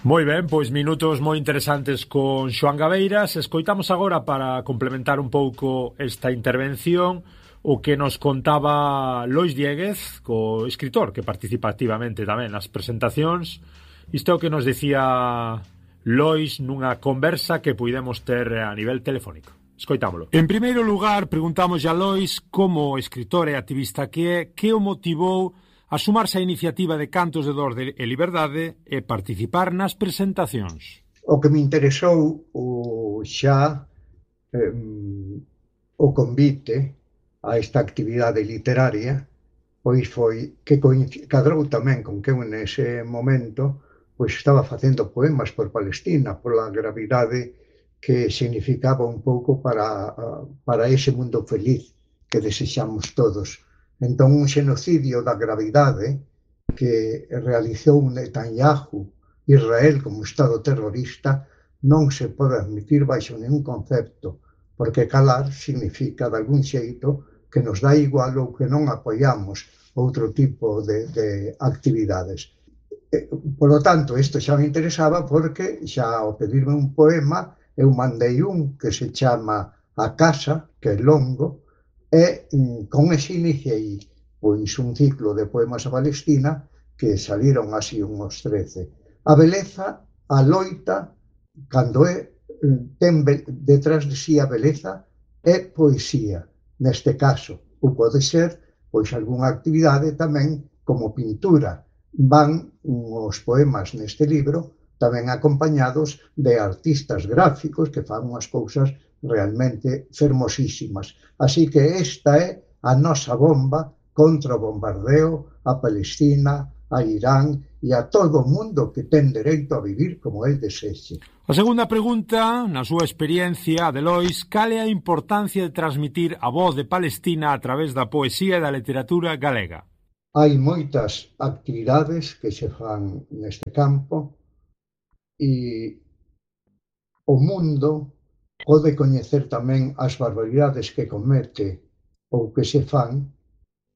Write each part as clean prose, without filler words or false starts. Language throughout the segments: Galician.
Moi ben, pois minutos moi interesantes con Xoán Gabeiras. Escoitamos agora, para complementar un pouco esta intervención, o que nos contaba Lois Dieguez, co escritor que participa activamente tamén nas presentacións. Isto é o que nos decía Lois nunha conversa que puidemos ter a nivel telefónico. Escoitámolo. En primeiro lugar, preguntamos a Lois, como escritor e activista que é, que o motivou a sumarse á iniciativa de Cantos de Dor e Liberdade e participar nas presentacións. O que me interesou o convite a esta actividade literaria, pois foi que cadrou tamén con que eu nese momento pois estaba facendo poemas por Palestina, pola gravidade que significaba un pouco para ese mundo feliz que desexamos todos. Entón, un xenocidio da gravidade que realizou Netanyahu, Israel como Estado terrorista, non se pode admitir baixo ningún concepto, porque calar significa, de algún xeito, que nos dá igual ou que non apoiamos outro tipo de actividades. Por lo tanto, isto xa me interesaba porque xa ao pedirme un poema, eu mandei un que se chama A Casa, que é longo, e con ese iniciei pois un ciclo de poemas a Palestina que saliron así uns 13. A beleza, a loita, cando ten detrás de si a beleza, é poesía, neste caso, ou pode ser pois algunha actividade tamén como pintura. Van os poemas neste libro tamén acompañados de artistas gráficos que fan unhas cousas realmente fermosísimas. Así que esta é a nosa bomba contra o bombardeo a Palestina, a Irán e a todo o mundo que ten dereito a vivir como el desexe. A segunda pregunta, na súa experiencia, de Lois, cal é a importancia de transmitir a voz de Palestina a través da poesía e da literatura galega? Hai moitas actividades que se fan neste campo e o mundo pode coñecer tamén as barbaridades que comete ou que se fan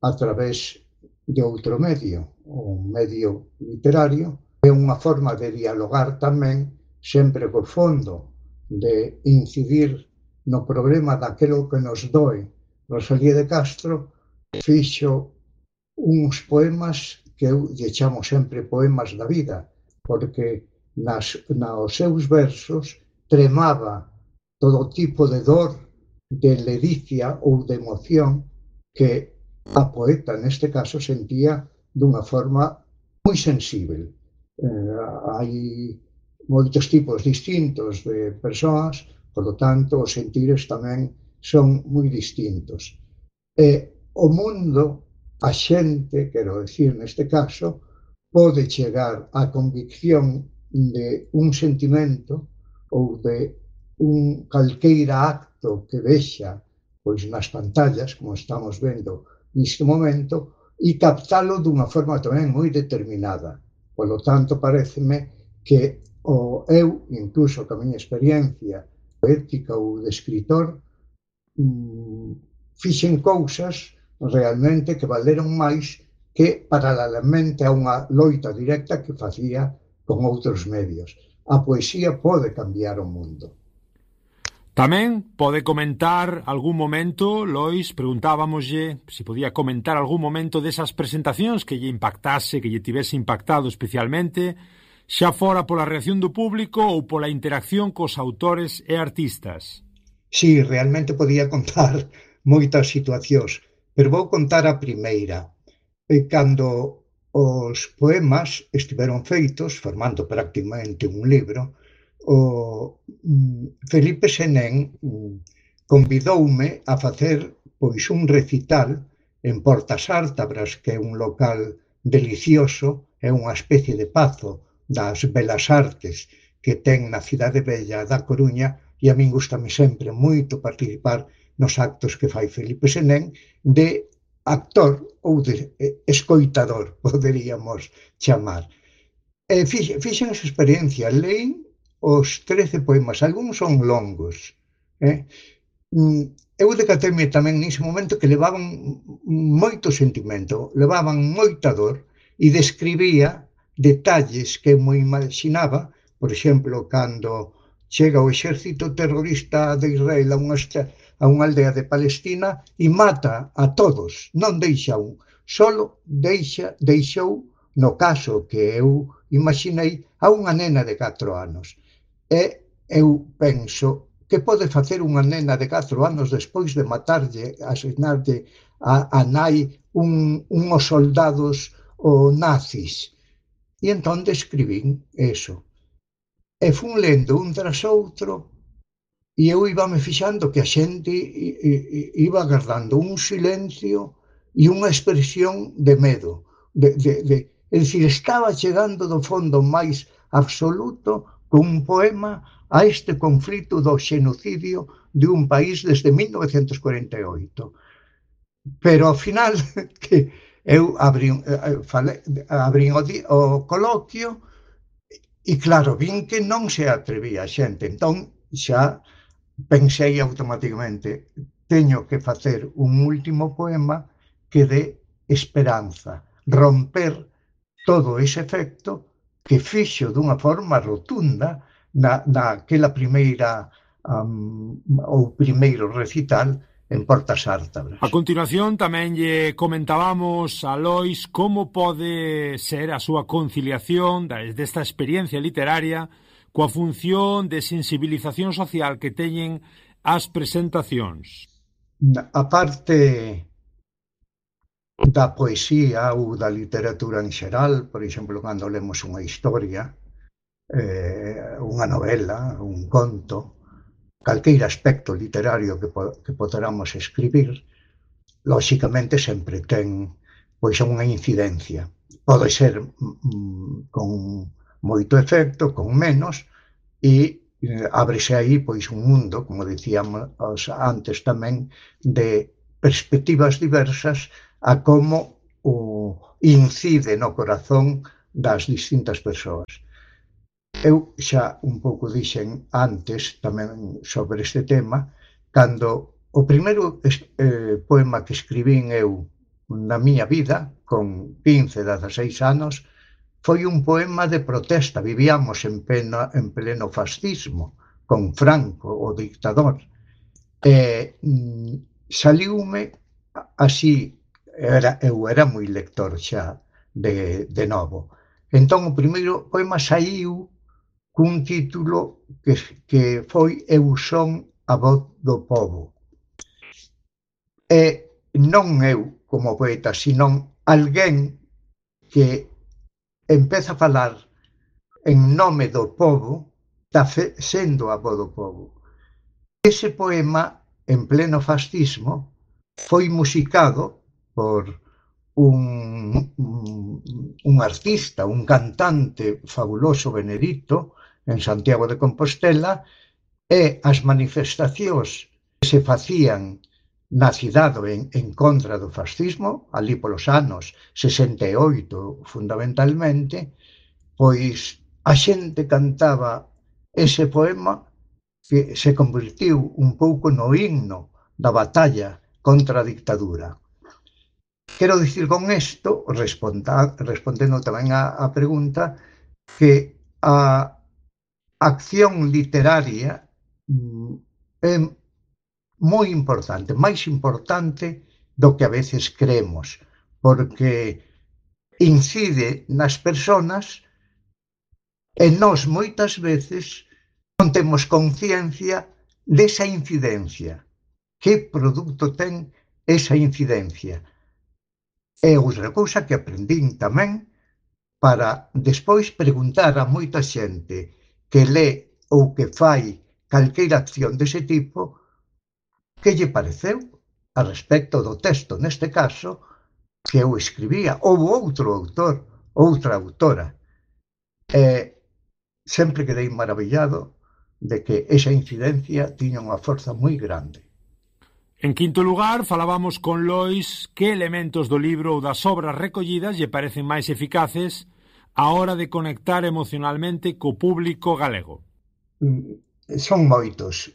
a través de outro medio, o medio literario. É unha forma de dialogar tamén, sempre co fondo de incidir no problema daquilo que nos doe. Rosalía de Castro fixo uns poemas que eu lle chamo sempre poemas da vida, porque nos seus versos tremaba todo tipo de dor, de ledicia ou de emoción que a poeta, neste caso, sentía dunha forma moi sensível. Hai moitos tipos distintos de persoas, polo tanto, os sentires tamén son moi distintos. E o mundo, a xente, quero dicir, neste caso, pode chegar á convicción de un sentimento ou de un calqueira acto que vexa pois nas pantallas, como estamos vendo neste momento, e captalo dunha forma tamén moi determinada. Polo tanto, paréceme que eu, incluso ca miña experiencia poética ou de escritor, fixen cousas realmente que valeron máis que paralelamente a unha loita directa que facía con outros medios. A poesía pode cambiar o mundo. Tamén pode comentar algún momento, Lois, preguntábamoslle se podía comentar algún momento desas presentacións que lle impactase, que lle tivese impactado especialmente, xa fora pola reacción do público ou pola interacción cos autores e artistas. Sí, realmente podía contar moitas situacións, pero vou contar a primeira. Cando os poemas estiveron feitos, formando prácticamente un libro, o Felipe Senén convidoume a facer pois un recital en Portas Ártabras, que é un local delicioso, é unha especie de pazo das belas artes que ten na cidade bella da Coruña, e a min gustame sempre moito participar nos actos que fai Felipe Senén de actor ou de escoitador, poderíamos chamar. Fixen esa experiencia, leí os 13 poemas, algúns son longos. Eu decateme tamén nese momento que levaban moito sentimento, levaban moita dor, e describía detalles que eu me imaginaba por exemplo, cando chega o exército terrorista de Israel a unha aldea de Palestina e mata a todos, non deixa un, solo deixou, no caso que eu imaginei, a unha nena de 4 anos. E eu penso que pode facer unha nena de 4 anos despois de matarlle, asinarlle a nai unhos soldados o nazis. E entón describín eso. E fun lendo un tras outro e eu íbame fixando que a xente iba agardando un silencio e unha expresión de medo. É dicir, estaba chegando do fondo máis absoluto cun poema a este conflito do xenocidio de un país desde 1948. Pero ao final que eu abrín o coloquio e claro, vin que non se atrevía a xente, entón xa pensei automáticamente, teño que facer un último poema que dé esperanza, romper todo ese efecto que fixo dunha forma rotunda naquela primeira ou primeiro recital en Portas Ártabras. A continuación tamén lle comentábamos a Lois como pode ser a súa conciliación desta experiencia literaria coa función de sensibilización social que teñen as presentacións. A parte da poesía ou da literatura en xeral, por exemplo, cando lemos unha historia, unha novela, un conto, calqueira aspecto literario que poderamos escribir, lóxicamente sempre ten pois unha incidencia. Pode ser con moito efecto, con menos, e ábrese aí pois un mundo, como dicíamos antes tamén, de perspectivas diversas a como incide no corazón das distintas persoas. Eu xa un pouco dixen antes tamén sobre este tema, cando o primeiro poema que escribín eu na miña vida, con 15, 16 anos, foi un poema de protesta. Vivíamos en pleno fascismo, con Franco, o dictador. Saliume así, eu era moi lector xa de novo. Entón o primeiro poema saiu cun título que foi Eu son a voz do pobo. E non eu como poeta, sino alguén que empeza a falar en nome do pobo, está sendo a voz do pobo. Ese poema, en pleno fascismo, foi musicado por un artista, un cantante fabuloso, Benedito, en Santiago de Compostela, e as manifestacións que se facían na cidade en contra do fascismo, ali polos anos 68 fundamentalmente, pois a xente cantaba ese poema que se convertiu un pouco no himno da batalla contra a dictadura. Quero dicir con isto, respondendo tamén a pregunta, que a acción literaria é moi importante, máis importante do que a veces creemos, porque incide nas persoas e nós moitas veces non temos conciencia desa incidencia. Que produto ten esa incidencia? E outra cousa que aprendín tamén para despois preguntar a moita xente que lé ou que fai calqueira acción dese tipo que lle pareceu a respecto do texto, neste caso, que eu escribía, ou outro autor, outra autora. Sempre quedei maravillado de que esa incidencia tiña unha forza moi grande. En quinto lugar, falábamos con Lois que elementos do libro ou das obras recollidas lle parecen máis eficaces á hora de conectar emocionalmente co público galego. Son moitos,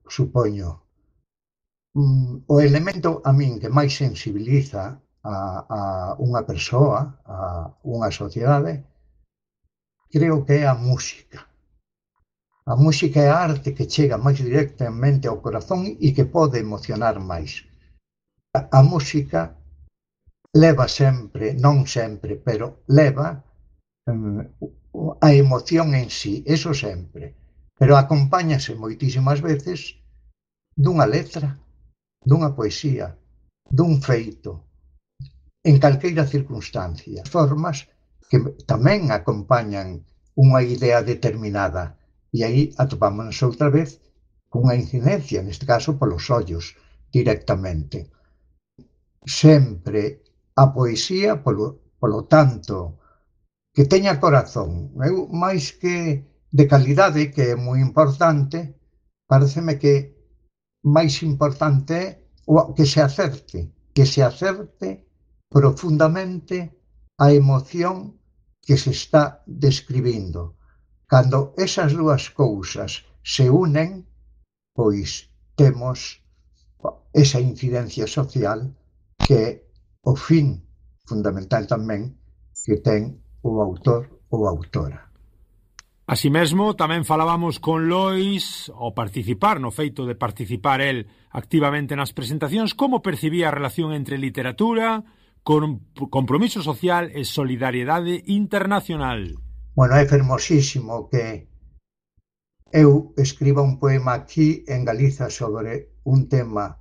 supoño. O elemento a min que máis sensibiliza a unha persoa, a unha sociedade, creo que é a música. A música é a arte que chega máis directamente ao corazón e que pode emocionar máis. A música leva sempre, non sempre, pero leva a emoción en sí, eso sempre. Pero acompáñase moitísimas veces dunha letra, dunha poesía, dun feito, en calqueira circunstancia. Formas que tamén acompañan unha idea determinada. E aí atopámonos outra vez cunha incidencia, neste caso polos ollos, directamente. Sempre a poesía, polo tanto, que teña corazón. Eu, máis que de calidade, que é moi importante, pareceme que máis importante é que se acerte profundamente a emoción que se está describindo. Cando esas dúas cousas se unen, pois temos esa incidencia social que é o fin fundamental tamén que ten o autor ou autora. Así mesmo, tamén falábamos con Lois, ao participar, no feito de participar el activamente nas presentacións, como percibía a relación entre literatura, compromiso social e solidariedade internacional. Bueno, é fermosísimo que eu escriba un poema aquí en Galiza sobre un tema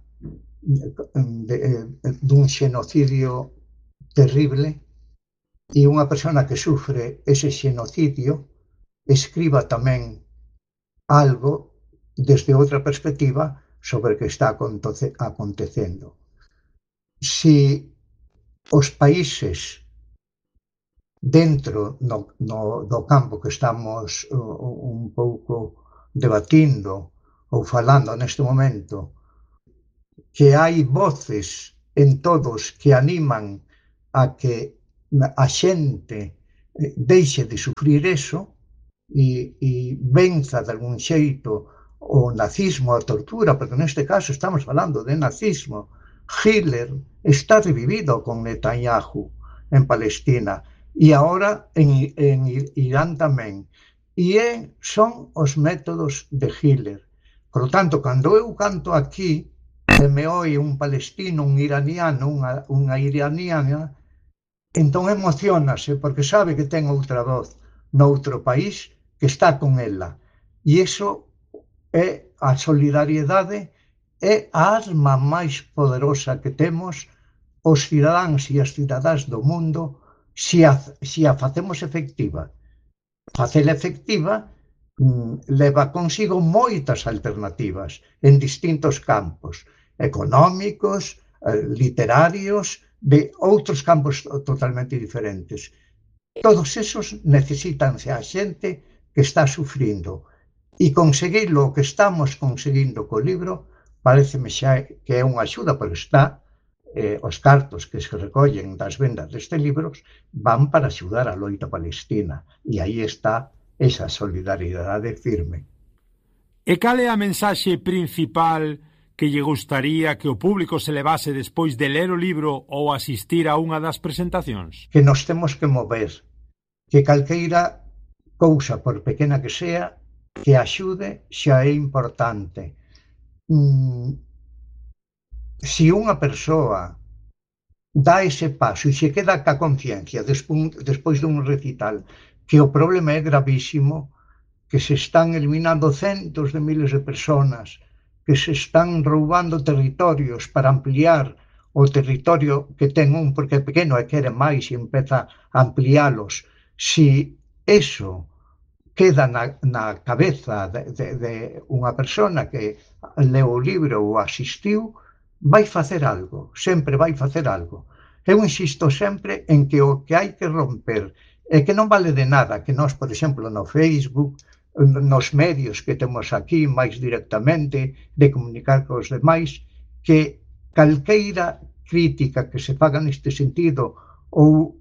dun xenocidio terrible e unha persona que sufre ese xenocidio escriba tamén algo desde outra perspectiva sobre o que está acontecendo. Si os países dentro do campo que estamos un pouco debatindo ou falando neste momento, que hai voces en todos que animan a que a xente deixe de sufrir eso e venza de algún xeito o nazismo, a tortura, porque neste caso estamos falando de nazismo. Hitler está revivido con Netanyahu en Palestina e agora en Irán tamén. E son os métodos de Hitler. Por lo tanto, cando eu canto aquí e me oi un palestino, un iraniano, unha iraniana, entón emocionase porque sabe que ten outra voz noutro país que está con ela. E iso é a solidariedade, é a arma máis poderosa que temos os cidadáns e as cidadás do mundo se a facemos efectiva. Facela efectiva leva consigo moitas alternativas en distintos campos, económicos, literarios, de outros campos totalmente diferentes. Todos esos necesítanse a xente que está sufrindo. E conseguir o que estamos conseguindo co libro pareceme xa que é unha axuda, porque está os cartos que se recollen das vendas destes libros van para axudar a loita palestina. E aí está esa solidariedade firme. E cal é a mensaxe principal que lle gustaría que o público se levase despois de ler o libro ou asistir a unha das presentacións? Que nos temos que mover, que calqueira cousa, por pequena que sea, que axude xa é importante. Se unha persoa dá ese paso e se queda ca conciencia despois dun recital que o problema é gravísimo, que se están eliminando centos de miles de personas, que se están roubando territorios para ampliar o territorio que ten un porque é pequeno e quere máis e empeza a ampliálos. Se eso queda na cabeza de unha persona que leu o libro ou asistiu, vai facer algo, sempre vai facer algo. Eu insisto sempre en que o que hai que romper é que non vale de nada que nós, por exemplo, no Facebook, nos medios que temos aquí máis directamente, de comunicar cos demais, que calqueira crítica que se faga neste sentido ou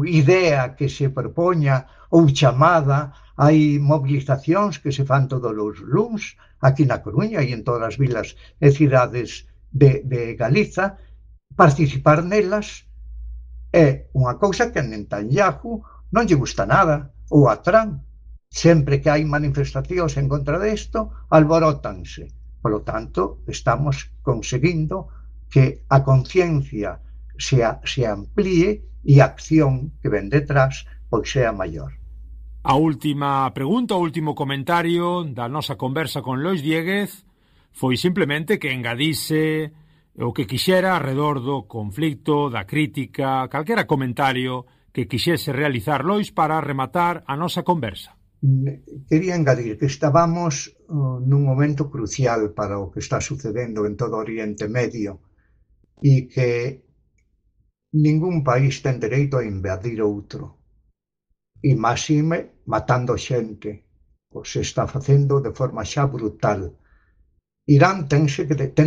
idea que se propoña ou chamada. Hai movilizacións que se fan todos os luns aquí na Coruña e en todas as vilas e cidades de Galiza. Participar nelas é unha cousa que a Netanyahu non lle gusta nada, ou a Trump. Sempre que hai manifestacións en contra desto, alborótanse. Por lo tanto, estamos conseguindo que a conciencia se amplíe e a acción que ven detrás pois sea maior. A última pregunta, o último comentario da nosa conversa con Lois Dieguez foi simplemente que engadise o que quixera alrededor do conflicto, da crítica, calquera comentario que quixese realizar Lois para rematar a nosa conversa. Quería engadir que estábamos nun momento crucial para o que está sucedendo en todo o Oriente Medio e que ningún país ten dereito a invadir outro. E máxime matando xente, o se está facendo de forma xa brutal. Irán ten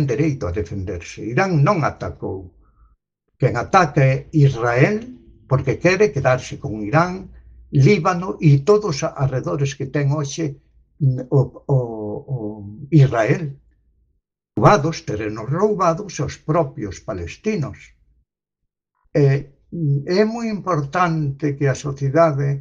dereito a defenderse. Irán non atacou. Quen ataca é Israel porque quere quedarse con Irán, Líbano e todos os arredores que ten hoxe o Israel. Terrenos roubados aos propios palestinos. É moi importante que a sociedade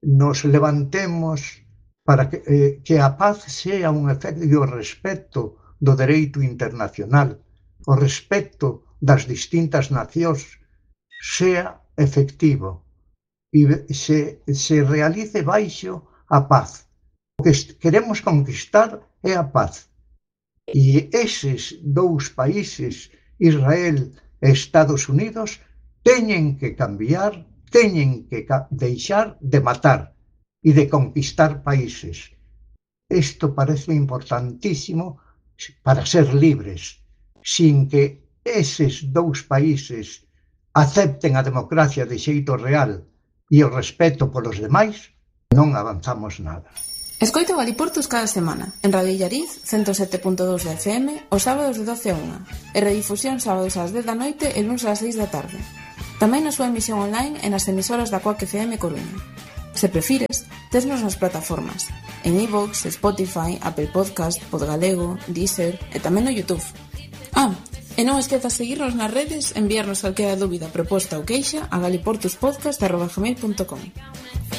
nos levantemos para que a paz sea un efecto e o respeto do dereito internacional, o respeto das distintas nacións sea efectivo e se realice baixo a paz. O que queremos conquistar é a paz. E eses dous países, Israel e Estados Unidos, teñen que cambiar, teñen que deixar de matar e de conquistar países. Isto parece importantísimo para ser libres, sin que eses dous países acepten a democracia de xeito real e o respeto polos demais, non avanzamos nada. Escoita Galiportos cada semana, en Radio Illariz, 107.2 de FM, os sábados de 12 a 1, e redifusión sábados ás 10 da noite e luns ás 6 da tarde. Tamén na súa emisión online e nas emisoras da Coac FM Coruña. Se prefires, tesnos nas plataformas, en iVoox, Spotify, Apple Podcast, Podgalego, Deezer e tamén no YouTube. E non esquezas seguirnos nas redes, enviarnos calquera dúbida, proposta ou queixa a galiportuspodcast@gmail.com.